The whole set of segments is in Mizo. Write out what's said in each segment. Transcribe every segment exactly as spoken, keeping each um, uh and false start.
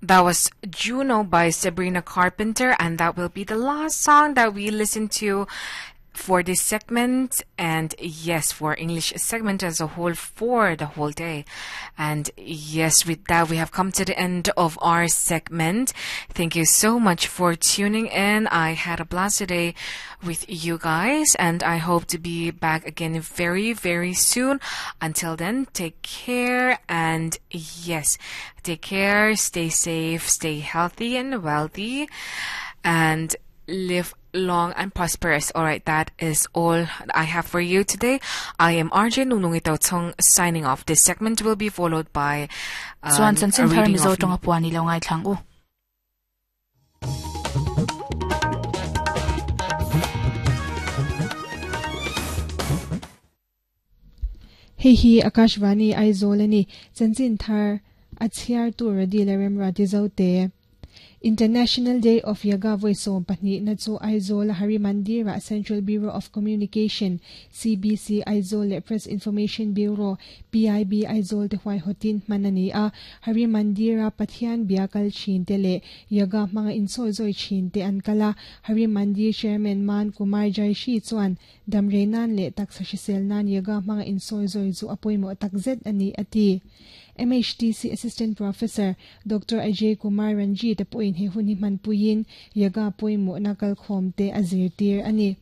That was Juno by Sabrina Carpenter, and that will be the last song that we listen to for this segment, and yes, for English segment as a whole for the whole day. And yes, with that, we have come to the end of our segment. Thank you so much for tuning in. I had a blast today with you guys, and I hope to be back again very, very soon. Until then, take care, and yes, take care, stay safe, stay healthy and wealthy, and live long and prosperous. All right, that is all I have for you today. I am R J Nunungito signing off. This segment will be followed by um, Chuan a chanchin thar reading Mizo of tawng a puan i lo ngai thlang u. Hei hi Akashvani Aizawl ani. Chanchin thar a chhiar tur radi le rem rati zo te. International Day of Yoga voi sawm pahnih na chu Aizawl Hari Mandira Central Bureau of Communication C B C Aizawl leh Press Information Bureau P I B Aizawl te huai hotin hman ani a. Hari Mandira Pathian bia kal thin te leh yoga hmanga insawi zawi thin te an kala. Hari Mandir Chairman Man Kumar Jaishi chuan damre nan leh taksa hrisel nan yoga hmanga insawi zawi chu a pawimawh takzet ani ati. M H T C Assistant Professor Doctor Ajay Kumar Ranjit pawhin he hun hi hman puiin yoga pawimawh na kalkhawm te a zirtir ani.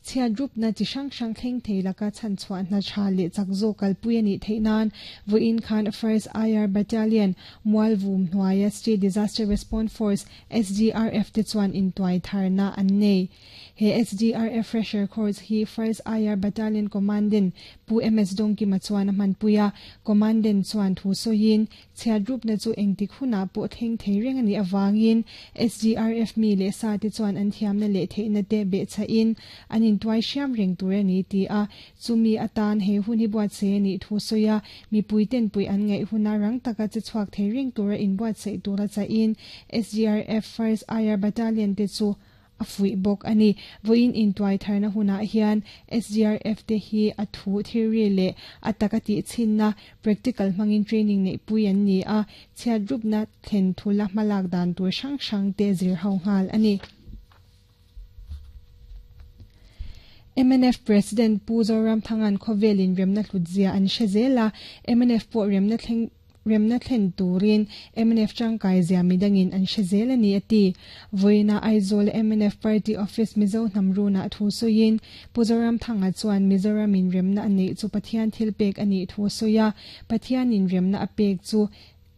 Chhiat rup na chi hrang hrang thleng thei laka chhan chhuah hna tha leh chak zawk kalpui ani theih nan vawiin khan First I R Battalion Mualvum hnuaia State Disaster Response Force S D R F te chuan intuai tharna an nei. He S D R F fresher course hi First I R Battalion Commandant Pu M S Dongkima chuan a hmanpui a. Commandant chuan thu sawiin chhiat rup na chu engtik huna pawh thleng thei reng ani awangin S D R F mi leh sa te chuan an thiamna leh theihna te beh chahin an intuai hriam reng tur ani ti a. Chumi atan he hun hi buat se ani thu sawi a. Mipui ten pui an ngaih huna rang taka che chhuak thei reng tura inbuat sei tura chahin S D R F First I R Battalion te chu a fuih bawk ani. Vawiin intuai tharna hunah hian S D R F te hi a thu theory leh a taka tih chhinna practical hmangin training neih pui an ni a. Chhiat rupna thlen thula hmalak dan tur hrang hrang te zir ho nghal ani. M N F President Pu Zoramthangan khawvelin remna hlutzia an hre zela M N F pawh remna thleng remna thlen turin M N F tangkai zia midangin an hre zel ani ati. Voina Aizawl M N F Party Office Mizo hnamruna thu sawiin Pu Zoramthanga chuan Mizoram in remna ani chu Pathian thil pek ani thu sawia. Pathian in remna a pek chu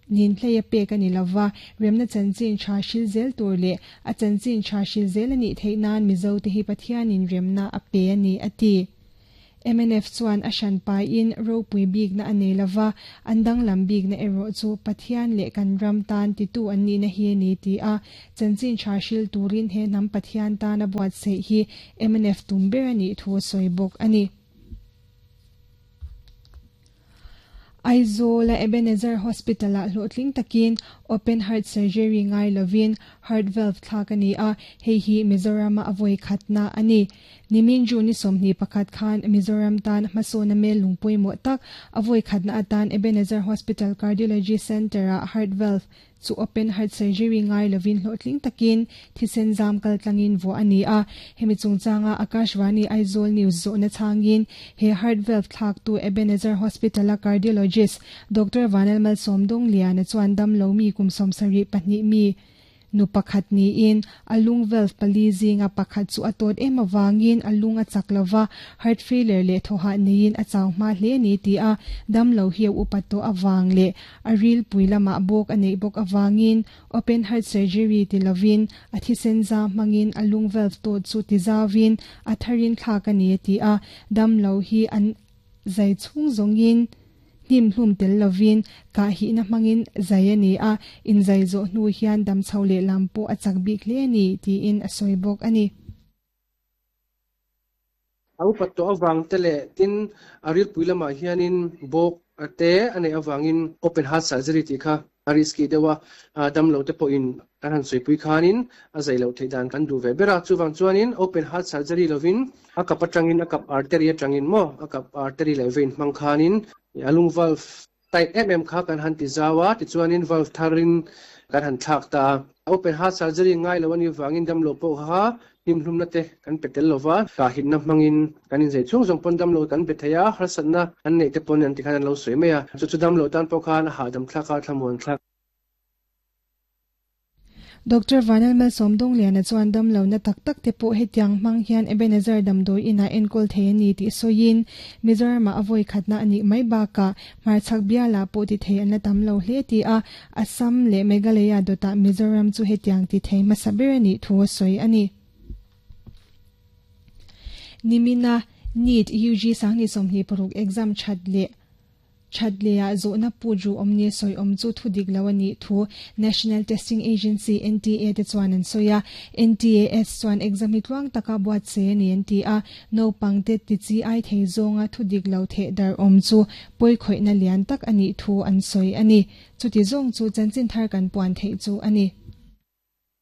nin hlei a pek ani lova. Remna chanchin tha hril zel tur leh a chanchin tha hril zel ani theih nan Mizo te hi Pathian in remna a pe ani ati. M N F chuan a hran pai in ropui bik na anei lova. An danglam bik na erawh chu Pathian leh kan ram tan titu an ni na hi ani ti a. Chanchin tha hril turin he hnam Pathian tan a buat sei hi M N F tum ber ani thu sawi bawk ani. Aizawl a Ebenezer Hospital ah hlawhtling takin open heart surgery ngai lovin heart valve thlak ani a. Hei hi Mizoram a avoi khatna ani. Nimin June ni sawmhnih pakhat khan Mizoram tan hmasawna mel lungpawimawh tak avoi khatna atan Ebenezer Hospital Cardiology Center ah heart valve chu open heart surgery ngai lovin hlawhtling takin thisen zam kal tlangin vo ani a. Hemi chungchanga Akashvani Aizawl News zawhna changin he heart valve thlak tu Ebenezer Hospital a cardiologist Doctor Vanal Malsawmdawng Liana chuan dam lo mi kum sawmsarih pahnih mi nu pakhat niin a lung valve pali zinga pakhat chu a tawt em awangin a lung a chak lova, heart failure leh thawha niin a chau hma hle ni ti a. Dam lo hi a upat tawh awang leh a ril pui lamah bawk a neih bawk awangin open heart surgery ti lovin a thisen zam hmangin a lung valve tawt chu ti zawin a tharin thlak ani ti a. Dam lo hi an zai chhung zawngin hnim hlum tel lovin ka hi na hmangin zai ani a. In zai zo hnu hian dam chho leh lam pawh a chak bik hle ani tiin a sawi bawk ani. A upat tawh awang te leh tin a ril pui lamah hianin bawk te a neih awangin open heart surgery tih kha a risky deuh a. Dam lo te pawhin kan han sawi khanin a zai lo theih dan kan duh ve ber a. Chuwang chuanin open heart surgery lovin a kap atangin, a kap artery atangin maw, a kap artery leh vein hmang khanin a lung valve Tight em em kha kan han ti zawa ti chuanin valve tharin kan han thlak ta open heart surgery ngai lo ani wangin dam lo pawh kha hnim hlum na te kan petel lova ka hit na mangin kan in zei chung jong pon dam lo kan be theia har satna an nei te pon an ti khan an lo sui meya chu chu dam lo tan pawh khan ha dam thlaka thlamuan thlak Doctor Vanal Mel Somdong lian chuan dam lo na tak tak te pawh hetiang hmang hian Ebenezer damdawi ina enkawl thei ani tih sawiin Mizoram ah a vawi khatna ani mai bakah hmarchhak biala pawh ti thei an la tam lo hle ti a Assam leh Meghalaya dawtah Mizoram chu hetiang ti thei hmasa ber ani thu a sawi ani. Nimina NEET U G sangni sawmhnih paruk exam that leh Thatlea zawhna pu ju awm ni sawi awm chu thu dik lo ani thu National Testing Agency N T A te chuan an sawi a N T A S chuan exam hi tluang taka buat se ani an ti a no pangte ti chi ai thei zawnga thu dik lo the dar awm chu poi khoina lian tak ani thu an sawi ani chuti zawng chu chanchin thar kan puan thei chu ani.